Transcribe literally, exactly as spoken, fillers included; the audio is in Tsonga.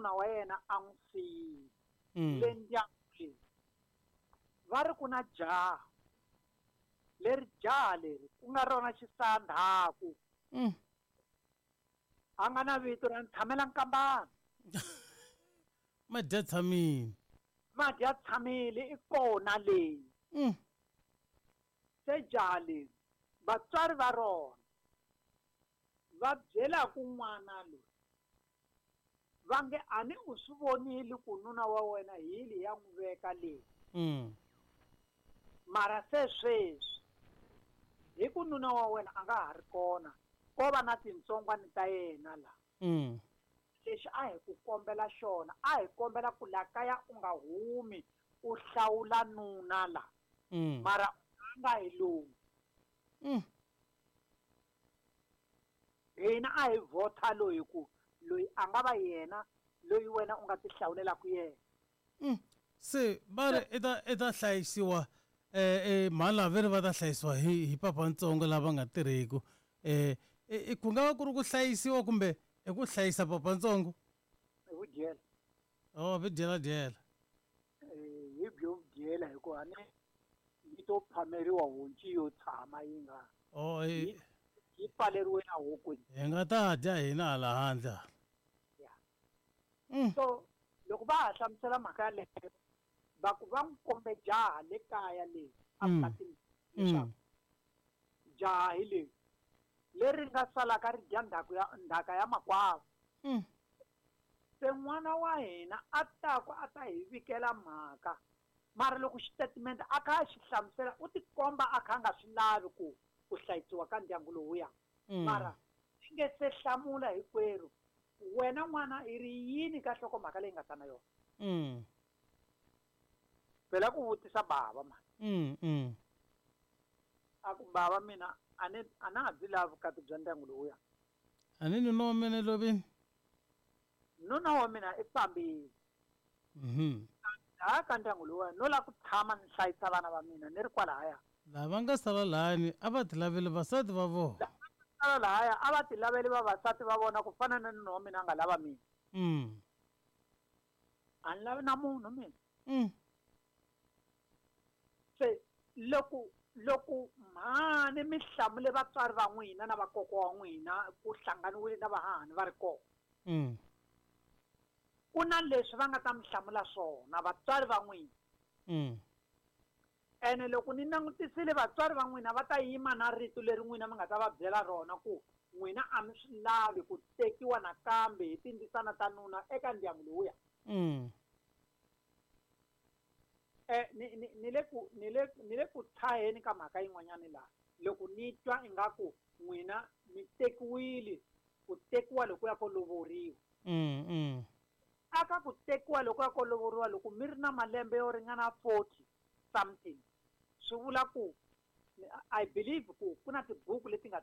nuna wa yena a n'wi siyile Mm. le ndyangwini va ri ku na jaha leri jaha leri ku nga rona xisandhaku Mm. a nga na vito ra Ntshamela Nkambana. Madya tshamile. Madya tshamile i kona leyi. Mm. Se jaha leri vatswari va rona va byelaku n'wana loyi va nge a ni u swi vonile ku nuna wa wena hi li ya n'wi veka leyi. Mm. Mara se sweswi hi ku nuna wa wena a nga ha ri kona ko va na tintsongwana ta yena la. Mm. Lexi a hi ku kombela xona a hi kombela ku la kaya u nga humi u hlawula nuna la. Mm. Mara u nga hi lomu. Mm. Hina a hi vhota loyi ku loyi a nga va yena loyi wena u nga ti hlawulelaka yena. Mm. Se va ri i ta i ta hlayisiwa eh eh mhani lava ve ri va ta hlayisiwa hi hi papantsongo lava nga tirheki. Eh i ku nga va ku ri ku hlayisiwa kumbe i ku hlayisa papantsongo? Hi vudyela. Oh, vudyela dyela. Eh hi byo vudyela hikuva ni yi to phameriwa honci yo tshama yi nga. Oh, yi yi pfaleriwe na hokweni. Hi nga ta dya hina hala handle. Yeah. Mm. So loko va ha hlamusela mhaka yaleyo va ku va n'wi kombe jaha le kaya leyi a Mm. vukatini leswaku Mm. jaha hi leyi leri nga salaka ri dya ndzhaku ya ndzhaka ya makwavo. Mm. Se n'wana wa hina a ta ku a ta hi vikela mhaka mara loko xitatimende a kha a xi hlamusela u tikomba a kha a nga swi lavi ku ku hlayisiwa ka ndyangu lowuya. Mm. Mara i nge se hlamula hinkwerhu wena n'wana i ri yini ka nhlokomhaka leyi nga ta na yona. Mm. Phela ku vutisa bava mani. Mm, mm. A ku bava mina a ni a na ha byi lavi vukati bya ndyangu lowuya. A ni nuna wa mina lovini? Nuna wa mina i fambile. Mhm. Laha ka ndyangu lowuya no lava ku tshama ni hlayisa vana va mina ni ri kwalahaya. Lava nga sala lahani a va ti laveli vasati va vona. Lava nga sala lahaya a va ti laveli vavasati va vona ku fana na nuna wa mina a nga lava mina. Mm. A ni lavi na munhu mina. Mm. Se loko loko mhani mi hlamule vatswari va n'wina na vakokwa wa n'wina ku hlanganiwile na vahahani va ri kona. Mm. Ku na leswi va nga ta mi hlamula swona vatswari va n'wina. Mm. Ene loko ni langutisile vatswari va n'wina va ta yima na rito leri n'wina mi nga ta va byela rona ku n'wina a mi swi lavi ku tekiwa nakambe hi tindzisana ta nuna eka ndyangu lowuya. Mm. Eh, ni, ni, ni le ku, ni le, ni le ku tshaheni ka mhaka yin'wanyani laha. Loko ni twa ingaku n'wina mi tekiwile ku tekiwa loko ya ko lovoriwa. Mm, mm. Aka ku tekiwa loko ya ko lovoriwa loko mi ri na malembe yo ringana forty something. Swi vula ku I believe ku ku na tibuku leti nga